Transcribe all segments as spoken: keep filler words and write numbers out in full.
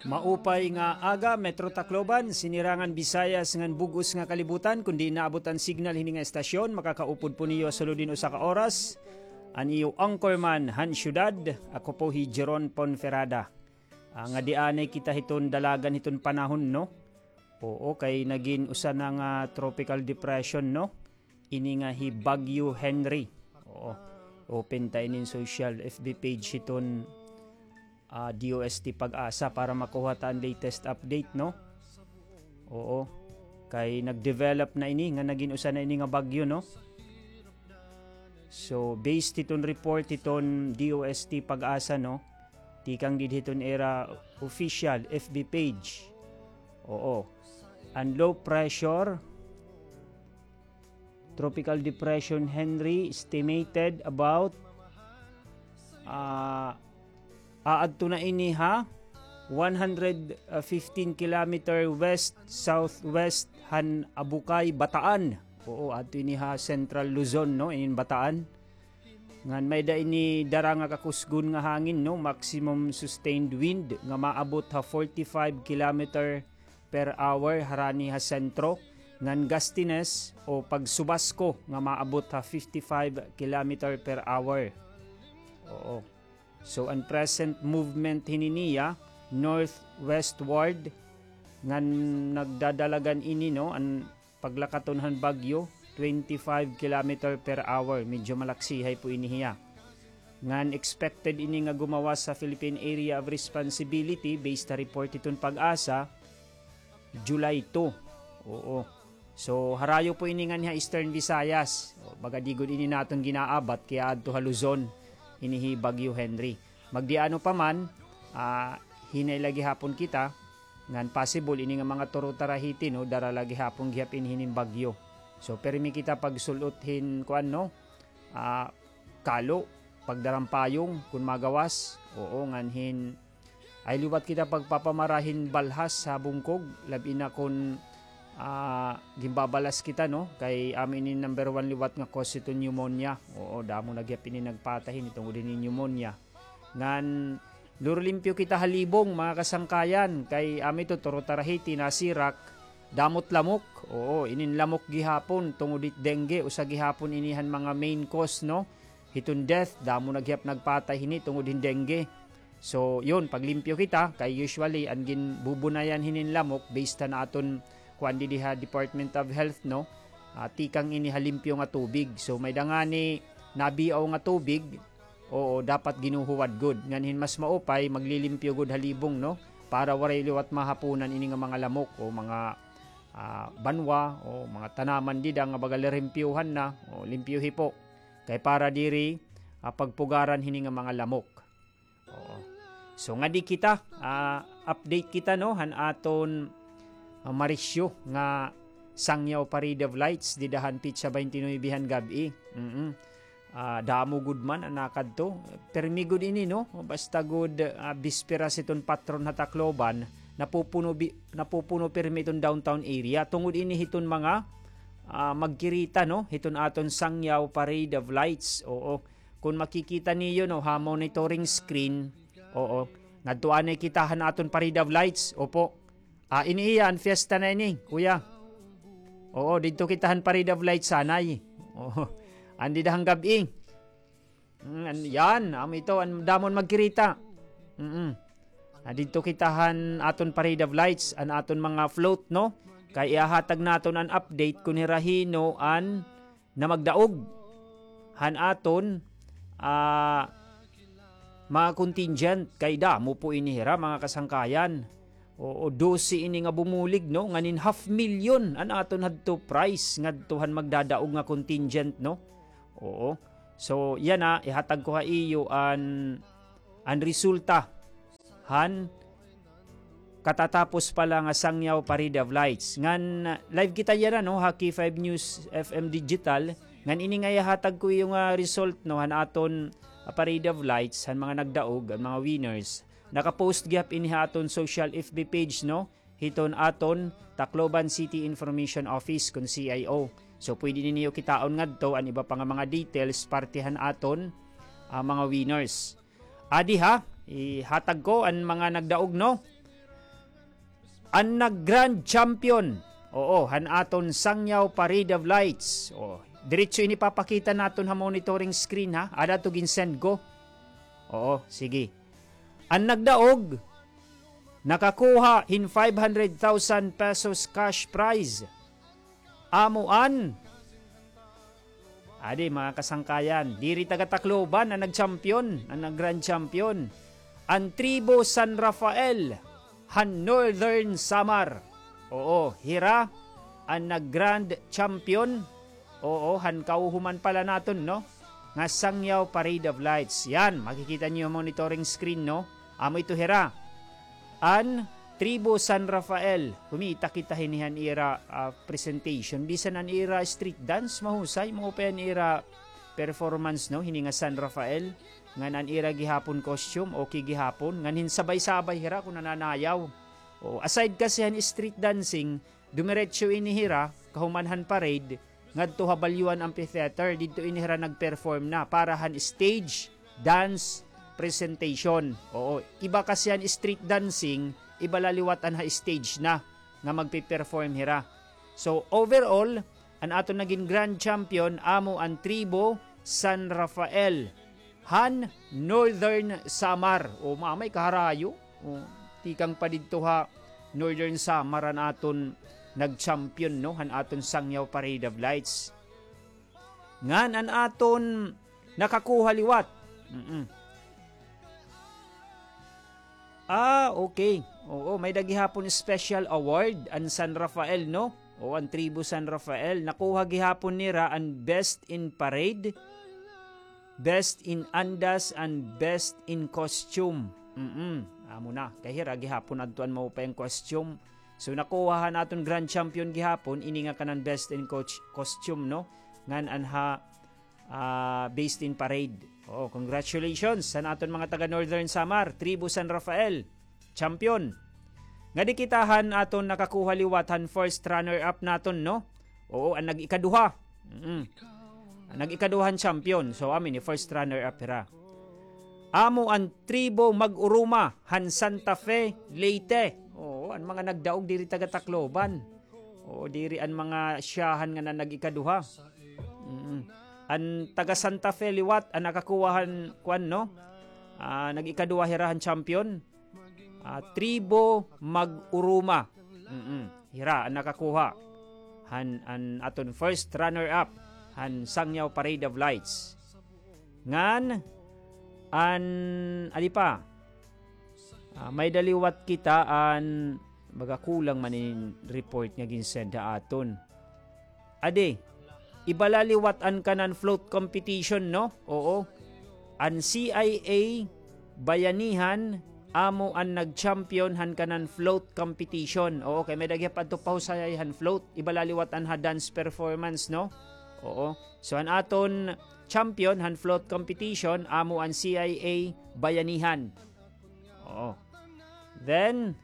Maupay nga aga, Metro Tacloban, Sinirangan Visayas ngan bug-os nga kalibutan. Kon diin naabot an signal hini nga estasyon, makakaupod po niyo ha sulod hin usa ka oras an iyo anchorman han syudad. Ako po hi Jeron Ponferrada. Ah, ngadi anay kita hiton dalagan hiton panahon, no? Oo, kay nagin usa na nga tropical depression, no? Ini nga hi Bagyo Henry. Oo. Open ta inin social F B page hiton, ah, D O S T PAGASA para makuha ta an latest update, no? Oo. Kay nag-develop na ini, nga nagin usa na ini nga bagyo, no? So, based hiton report hiton D O S T PAGASA, no? Tikang didi hiton ira official F B page. Oo. An low pressure Tropical Depression Henry estimated about, ah, aadto na ini ha one hundred fifteen kilometer west-southwest han Abukay, Bataan. Oo, adto ini ha Central Luzon, no, inin Bataan. Ngan may-ada ini dara nga kakusgon nga hangin, no, maximum sustained wind nga maabot ha forty-five kilometer per hour harani ha sentro, ngan gustiness o pagsubasko nga maabot ha fifty-five kilometer per hour. Oo. So, an present movement hini niya, northwestward, ngan nagdadalagan ini, no, an paglakaton han bagyo, twenty-five kilometer per hour. Medyo malaksihay po ini hiya. Ngan expected ini nga gumawas sa Philippine Area of Responsibility based ha report hiton PAGASA, July two. Oo. So, harayo po ini nganhi ha Eastern Visayas. O, baga di gud ini naton ginaabat, kay aadto ha Luzon, ini hi Bagyo Henry. Magdiano pa man, ah, hinay la gihapon kita, ngan possible ini nga mga Toro Tarahiti, no, dara la gihapon gihap ini hinin bagyo. So, pirmi kita pagsul-ot hin, kuan, no, ah, kalo, pagdara hin payong, kon magawas, oo, ngan hin, ay liwat kita pagpapamara hin balhas ha bungkog, labi na kon, ah, ginbabalas kita, no, kay amo ini number one liwat nga cause hiton pneumonia. Oo, damo na gihap ini nagpatay hini tungod hini pneumonia. Ngan, luro limpyo kita ha libong, mga kasangkayan, kay amo ito, Toro Tarahiti, Nasirak, damo it lamok. Oo, inin lamok gihapon, tungod hit dengue, usa gihapon ini han mga main cause, no? Hiton death, damo na gihap nagpatay hini tungod hin dengue. So, yun, paglimpyo kita, kay usually, an ginbubunayan hinin lamok, based han aton, kuan didi ha Department of Health, no? Ah, tikang ini ha limpyo nga tubig. So, may-ada ngani nabiaw nga tubig, oo, dapat ginuhuwad gud. Ngan hin mas maupay, maglilimpyo gud ha libong, no? Para waray liwat mahapunan ini nga mga lamok o mga, ah, banwa o mga tanaman dida nga baga lirimpyohan na, o limpyohi po. Kay para diri, ah, pagpugaran hini nga mga lamok. Oo. So, ngadi kita, ah, update kita, no, han aton, ah, marisyo nga Sangyaw Parade of Lights dida han petsa twenty-nine han gab-i. Mm-mm. Ah, damo gud man an nakadto. Pirmi gud ini, no? Basta gud, ah, bisperas hiton patron ha Tacloban, napupuno bi-, napupuno pirmi iton downtown area. Tungod ini hiton mga, ah, magkirita, no? Hiton aton Sangyaw Parade of Lights. Oo. Kon makikita niyo, no, ha monitoring screen, oo. Ngadto anay kita han aton Parade of Lights, opo. Ah, ini iya, an fiesta na ini, kuya. Oo, didto kita han Parade of Lights anay. Oo. An dida han gab-i. Mm, an, yan, amo ito, an damo an magkirita. Mm-mm. Ah, didto kita han aton Parade of Lights, an aton mga float, no? Kay ihahatag naton an update kon hira hin-o an na magdaog han aton, ah, mga contingent, kay damo po ini hira, mga kasangkayan. Oo, dose ini nga bumulig, no? Ngan hin half million an aton hadto prize ngadto han magdadaog nga contingent, no? Oo. So, yana, ihatag ko ha iyo an, an resulta han katatapos pa la nga Sangyaw Parade of Lights. Ngan, live kita yana, no, ha K five News F M Digital. Ngan ini nga ihatag ko iyo nga result, no, han aton, ah, Parade of Lights, han mga nagdaog, an mga winners. Naka-post gihap ini ha aton social F B page, no, hiton aton Tacloban City Information Office, kon C I O. So, pwede ninyo kitaon ngadto an iba pa nga mga details, parte han aton, ah, mga winners. Adi ha, ihatag ko an mga nagdaog, no? An nag-grand champion. Oo, han aton Sangyaw Parade of Lights. Oo, diretso ini papakita naton ha monitoring screen, ha. Ada to ginsend ko. Oo, sige. An nagdaog, nakakuha hin five hundred thousand pesos cash prize. Amo an, adi, mga kasangkayan, diri taga Tacloban an nag-champion, an nag-grand champion. An Tribo San Rafael, han Northern Samar. Oo, hira an nag-grand champion. Oo, han kauhuman pala naton, no? Nga Sangyaw Parade of Lights. Yan, makikita niyo monitoring screen, no? Amo ito hira. An Tribo San Rafael. Kumita kita hini han ira, ah, presentation. Bisan an ira street dance, mahusay. Maupay an ira performance, no? Hini nga San Rafael. Ngan an ira gihapon costume, okay gihapon. Ngan hinsabay-sabay hira kon nananayaw. O, aside kasi han street dancing, dumiretso ini hira, kahuman han parade, ngadto ha Balyuan Amphitheater, didto ini hira nag-perform na para han stage dance presentation. Oo, iba kasi an street dancing, iba la liwat an ha stage na nga magpe-perform hira. So, overall, an aton nagin grand champion amo an Tribo San Rafael han Northern Samar. O, mamay kaharayo. O, tikang pa didto ha Northern Samar an aton nag-champion, no, han aton Sangyaw Parade of Lights. Ngan an aton nakakuha liwat. Mm-mm. Ah, okay. Oo, may-ada gihapon special award an San Rafael, no? O, an Tribo San Rafael. Nakuha gihapon nira an Best in Parade, Best in Andas, and Best in Costume. Mm-mm. Amo na. Kay hira gihapon adto an maupay nga costume. So, nakuha han aton grand champion gihapon, ini nga kanan Best in Coach-, Costume, no? Ngan an ha, ah, Best in Parade. Oo, congratulations han aton mga taga Northern Samar, Tribo San Rafael. Champion. Ngadi kita han aton nakakuha liwat han first runner-up naton, no? Oo, an nag-ikaduha. Mm. An nag-ikaduha han champion. So, amo ini first runner-up hira. Amo an Tribo Mag-uruma han Santa Fe, Leyte. Oo, an mga nagdaog diri taga Tacloban. Oo, diri an mga siyahan nga nan nag-ikaduha. Mm. An taga Santa Fe liwat, an nakakuha han kuan, no? Ah, nag-ikaduha hira han champion. Ah, Tribo Mag-uruma. Mm-mm. Hira an nakakuha han, an aton first runner-up han Sangyaw Parade of Lights. Ngan, an, adi pa, ah, may-ada liwat kita an, baga kulang man in report nga ginsend ha aton. Adi, iba la liwat an kanan float competition, no? Oo. An C I A Bayanihan amo an nag-champion han kanan float competition. Oo, kay may-ada gihap adto pahusayay han float. Iba la liwat an ha dance performance, no? Oo. So, an aton champion han float competition amo an C I A Bayanihan. Oo. Then,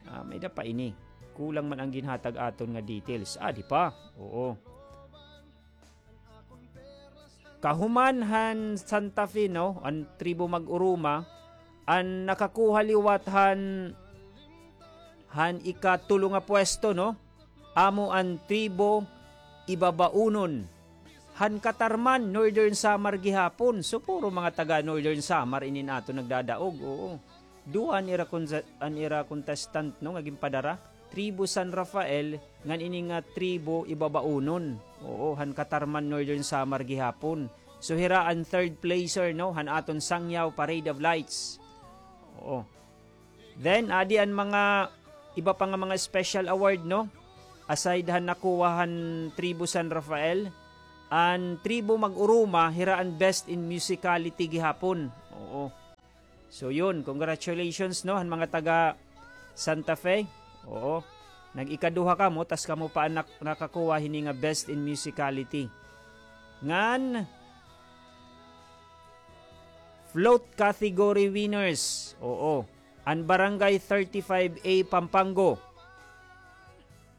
ah, may-ada pa ini. Kulang man an ginhatag aton nga details. Ah, di pa. Oo. Kahuman han Santa Fe, no, an Tribo Mag-uruma, an nakakuha liwat han, han ikatulo nga pwesto, no, amo an Tribo Ibabaunon. Han Catarman, Northern Samar gihapon. So, puro mga taga Northern Samar inin aton nagdadaog, oo. Duha an ira konsa-, an ira contestant, no, nga ginpadara. Tribo San Rafael, ngan ini nga Tribo Ibabaunon. Oo, han Catarman, Northern Samar gihapon. So, hira an third placer, no, han aton Sangyaw Parade of Lights. Oo. Then, adi an mga iba pa nga mga special award, no? Aside han nakuha han Tribo San Rafael, an Tribo Mag-uruma, hira an best in musicality gihapon. Oo. So, yun. Congratulations, no, han mga taga Santa Fe. Oo. Nag-ikaduha kamo, tas kamo pa an nak-, nakakuha hini nga best in musicality. Ngan, float category winners. Oo. An Barangay thirty-five A Pampango.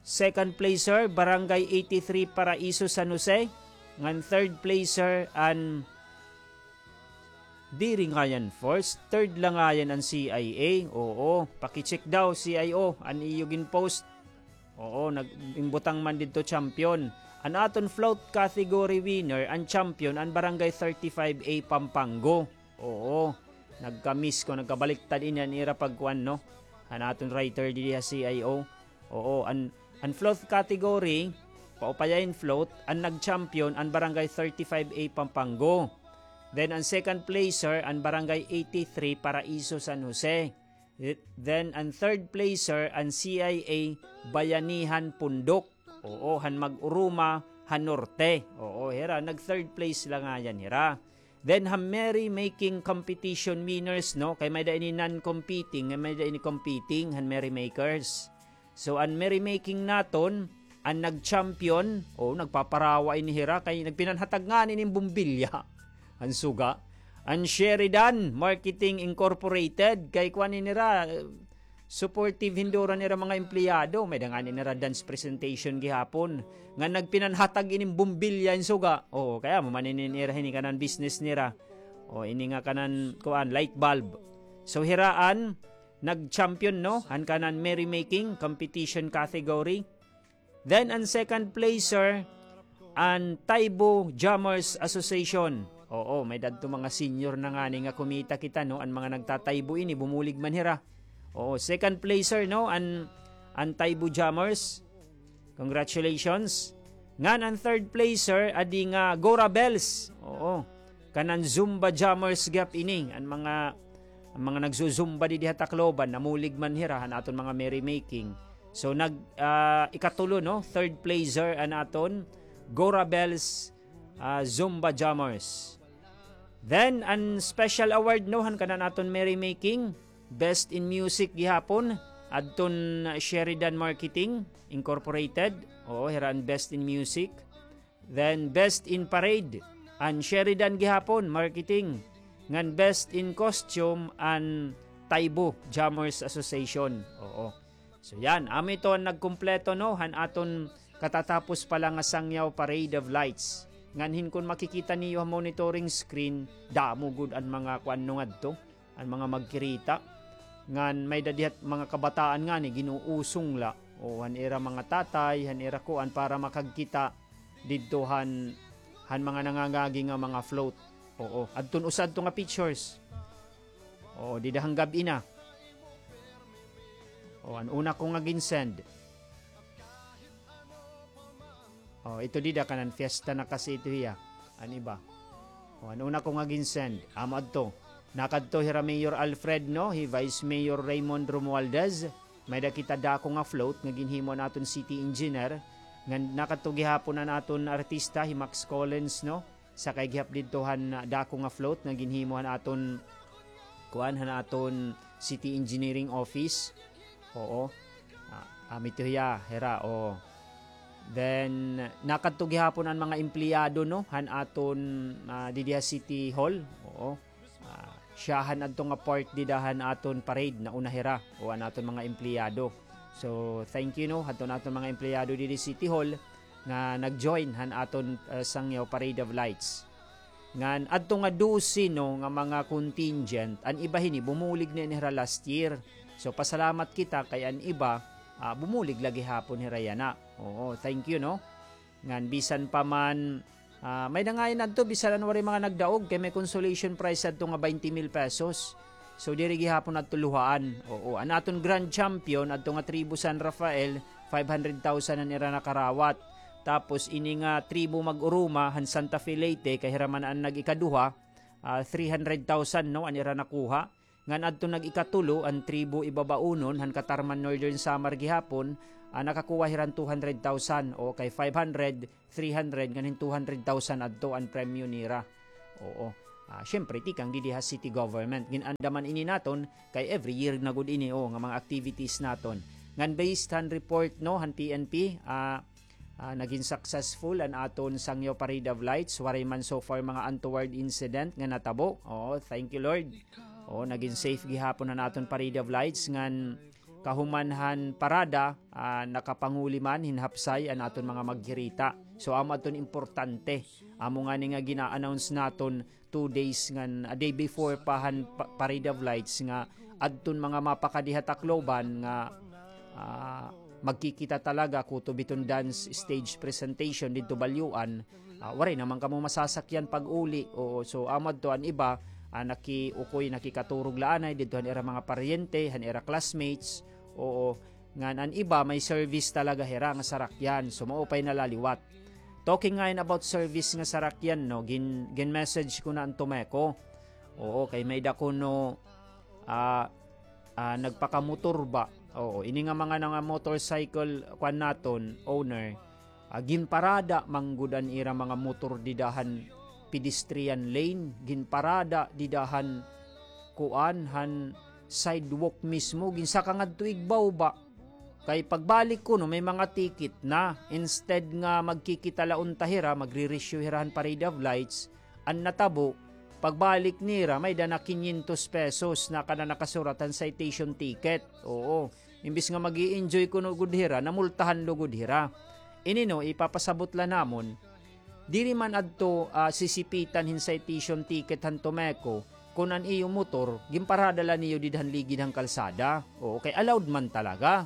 Second placer, Barangay eighty-three Paraiso, San Jose. Ngan third placer, an Diri ngayan first, third la ngayan an C I A. Oo, paki-check daw, C I O, an iyo gin-post. Oo, nag-, imbutang man didto champion. An aton float category winner, an champion, an Barangay thirty-five A Pampango. Oo, nagka-miss ko, nagkabaliktad ini an ira pagkuan, no? An aton writer didi ha C I O. Oo, an, an float category, paupayahin float, an nag-champion, an Barangay thirty-five A Pampango. Then, an second placer, an Barangay eighty-three Paraiso San Jose. Then, an third placer, an C I A Bayanihan Pundok. Oo, han Mag-uruma, han Norte. Oo, hira, nag-third place la ngayan hira. Then, han merrymaking competition winners, no? Kay may-ada ini non-competing, may-ada ini competing, han merrymakers. So, an merrymaking naton, an nag-champion, o, nagpaparawa ini hira, kay nagpinanhatag ngani inin bumbilya. An suga. An Sheridan Marketing Incorporated, kay kuan ini hira, eh, supportive hinduran ira mga empleyado, may-ada ngani nira dance presentation gihapon. Nga nagpinanhatag inin bumbilya an suga. Oo, kay amo man inin ira hini kanan business nira. O, ini nga kanan, kuan, light bulb. So, hira an nag-champion, no? Han kanan merrymaking competition category. Then, an second placer, an Taibo Jammers Association. Oo, may-ada adto mga senior na ngani nga kumita kita, no? An mga nagtataybo ini, bumulig man hira. Oo, second placer, no? An, an Taibo Jammers. Congratulations. Ngan an third placer, adi nga Gora Bells. Oo. Kanan Zumba Jammers gihap ini. An mga, an mga nagzu-zumba didi ha Tacloban, namulig man hira han aton mga merrymaking. So, nag, ah, ikatulo, no? Third placer an aton Gora Bells, ah, Zumba Jammers. Then, an special award, no, han kanan aton merrymaking, Best in Music gihapon, adton Sheridan Marketing Incorporated. Oo, hira an Best in Music. Then, Best in Parade, an Sheridan gihapon, Marketing. Ngan Best in Costume, an Taibo Jammers Association. Oo. So, yan. Amo ito an nagkumpleto, no, han aton katatapos pa la nga Sangyaw Parade of Lights. Ngan hin kon makikita niyo ha monitoring screen, damo gud an mga kuan no ngadto, an mga magkirita. Ngan may-ada dihat mga kabataan ngani, gin-uusong la. O, han ira mga tatay, han ira kuan para makagkita didto han, han mga nangangagi nga mga float. Oo, adton usa adto nga pictures. Oo, dida han gab-i na. O, an una ko nga gin-send. O, ito dida kanan fiesta na kasi ito hiya. An iba. O, an una ko nga gin-send. Amo adto. Nakadto hira Mayor Alfred, no? Hi Vice Mayor Raymond Romualdez. May-ada kita dako nga float nga ginhimo an aton city engineer. Ngan nakadto gihapon an aton artista, hi Max Collins, no? Sakay gihap didto han, ah, dako nga float nga ginhimo han aton, kuan, han aton city engineering office. Oo. Ah, amo ito hiya, hira, o. Then, nakadto gihapon an mga empleyado, no, han aton, ah, didi ha City Hall. Oo. Ah, siya han adto nga part dida han aton parade, nauna hira, o an aton mga empleyado. So, thank you, no, hadton aton mga empleyado didi City Hall nga nag-join han aton, ah, Sangyaw Parade of Lights. Ngan adto nga dose, no, nga mga contingent, an iba hini, bumulig na ini hira last year. So, pasalamat kita kay an iba, ah, bumulig la gihapon hira yana. Oo, thank you, no? Ngan bisan pa man, ah, may nangayon adto, bisan an waray mga nagdaog, kay may consolation prize adto nga twenty mil pesos. So, diri gihapon adto luhaan. Oo, an aton grand champion, adto nga Tribo San Rafael, five hundred thousand an ira nakarawat. Tapos, ini nga Tribo Mag-uruma, han Santa Fe Leyte, kay hira man an nag-ikaduha, ah, three hundred thousand, no, an ira nakuha. Ngan adto nag-ikatulo, an Tribo Ibabaunon, han Catarman, Northern Samar gihapon, ah, nakakuha hira hin two hundred thousand, o kay five hundred, three hundred, ngan hin two hundred thousand adto an premyo nira. Oo. Ah, syempre, tikang didi ha city government. Gin-andaman ini naton, kay every year na gud ini, o, nga mga activities naton. Ngan based han report, no, han P N P, ah, ah, nagin successful an aton Sangyaw Parade of Lights. Waray man so far mga untoward incident nga natabo. Oo, thank you, Lord. Oo, nagin safe gihapon an aton Parade of Lights ngan kahuman han parada, ah, nakapanguli man hin hapsay an aton mga magkirita. So, amo adton importante. Amo ngani nga gina-announce naton two days ngan, a day before pa han pa-, Parade of Lights nga adton mga mapakadi ha Tacloban nga, ah, magkikita talaga kutob iton dance stage presentation didto Balyuan. Ah, waray naman kamo masasakyan pag-uli. Oo, so, amo adto an iba, ah, nakiukoy, nakikaturog la anay didto han ira mga paryente, han ira classmates. Oo, ngan an iba may service talaga hira nga sarakyan. So, maupay na la liwat. Talking ngayon about service nga sarakyan, no, gin-, gin-message ko na an Tomeco. Oo, kay may-ada kuno, ah, ah, nagpakamotor ba? Oo, ini nga mga, nga motorcycle, kuan naton, owner, ah, ginparada man gud an ira mga motor dida han pedestrian lane, ginparada dida han kuan, han sidewalk mismo, ginsaka ngadto igbaw ba? Kay pagbalik kuno, may mga ticket na. Instead nga magkikita la unta hira, magre-reissue hira han Parade of Lights, an natabo, pagbalik nira, may-ada na kinyentos pesos na kada nakasurat han citation ticket. Oo. Imbis nga mag-i-enjoy kuno gud hira, namultahan lugod hira. Ini, no, ipapasabot la namon, diri man adto, ah, sisipitan hin citation ticket han Tomeco, kun an iyo motor, ginparada la niyo dida han ligid han kalsada. Oo, kay allowed man talaga.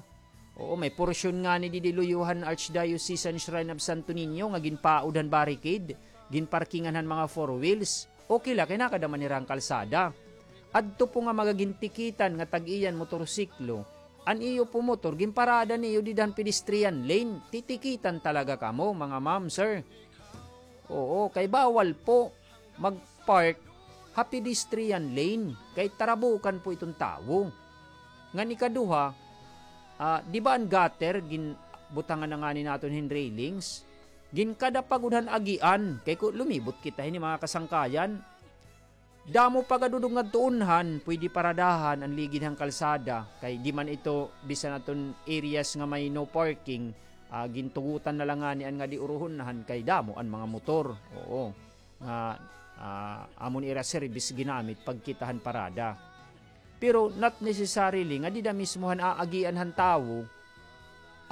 Oo, may porsyon ngani didi luyo han Archdiocesan Shrine of Santo Niño nga ginpaod han barricade, ginparkingan han mga four wheels. Okay la, kay nakada man hira han kalsada. Adto po nga magagintikitan nga tag-iya an motorsiklo, an iyo po motor, ginparada niyo dida han pedestrian lane. Titikitan talaga kamo, mga ma'am, sir. Oo, kay bawal po mag-park ha pedestrian lane, kay tarabukan po iton tawo. Ngan ikaduha, ah, di ba an gutter, gin-, butangan na ngani naton hin railings, ginkada pa gud han agian, kay ku-, lumibot kita hini, mga kasangkayan. Damo pa gad udog ngadto unhan, pwede paradahan an ligid han kalsada, kay di man ito bisan aton areas nga may no parking, ah, gintugutan na la ngani an ngadi uruhonhan kay damo an mga motor. Oo. Nga, ah, amo ni ira service ginamit pagkita han parada. Pero not necessarily nga dida mismo han aagian han tawo,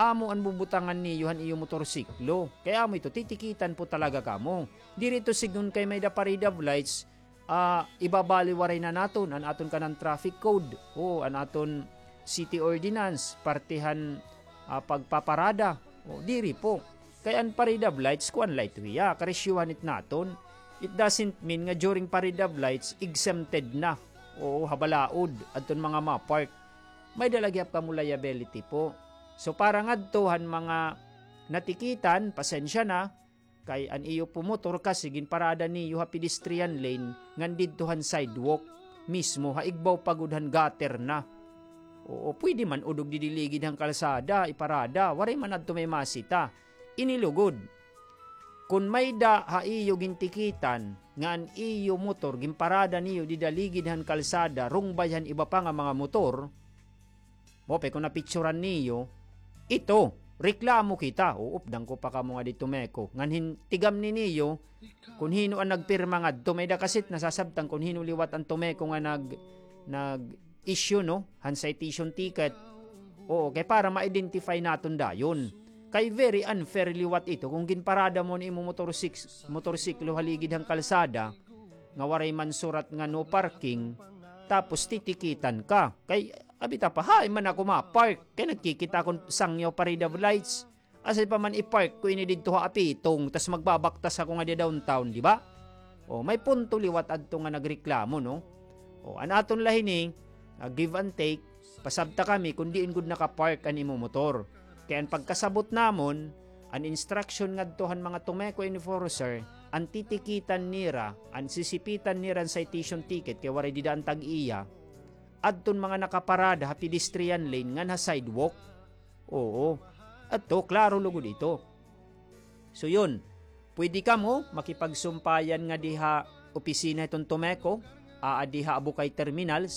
amo an bubutangan niyo han iyo motorsiklo. Kay amo ito, titikitan po talaga kamo. Diri ito sigon kay may-ada Parade of Lights, ah, ibabaliwaray na naton an aton kanan traffic code o an aton city ordinance, parte han, ah, pagpaparada. O, diri po. Kay an Parade of Lights, kuan la ito hiya, karisyuhan it naton. It doesn't mean nga during Parade of Lights, exempted na. Oo, ha balaod, adton mga ma-park. May-ada la gihap kamo liability po. So, para ngadto han mga natikitan, pasensya na, kay an iyo po motor kasi ginparada niyo ha pedestrian lane ngan didto han sidewalk mismo, ha igbaw pa gud han gutter na. Oo, pwede man udog didi ligid han kalsada, iparada, waray man adto may masita. Ini lugod. Kon may-ada ha iyo gintikitan nga an iyo motor ginparada niyo dida ligid han kalsada, rungbay han iba pa nga mga motor, maupay kon napicturan niyo, ito, reklamo kita. Uupdan ko pa kamo ngadi Tomeco. Ngan hin-, tigamni niyo, kon hin-o an nagpirma ngadto, may-ada kasi it nasasabtan kon hin-o liwat an Tomeco nga nag-, nag-issue, no, han citation ticket. Oo, kay para ma-identify naton dayon. Kay very unfair liwat ito kon ginparada mo an imo motorsik-, motorsiklo ha ligid han kalsada, nga waray man surat nga no parking, tapos titikitan ka. Kay abi ta pa, hain man ako ma-park? Kay nagkikita akon sangyaw Parade of Lights. Asya pa man i-park ko ini didto ha apitong, tas magbabaktas ako ngadi downtown, di ba? O, may punto liwat adto nga nagreklamo, no? O, an aton la hini, ah, give and take, pasabta kami kon diin gud naka-park an imo motor. Kay an pagkasabot namon, an instruction ngadto han mga Tomeco enforcer, an titikitan nira, an sisipitan nira an citation ticket kay waray dida an tag-iya, adton mga nakaparada ha pedestrian lane ngan ha sidewalk. Oo. Adto, klaro lugod ito. So, yun. Pwede kamo makipagsumpayan ngadi ha opisina hiton Tomeco, aa, dida ha Abukay Terminal,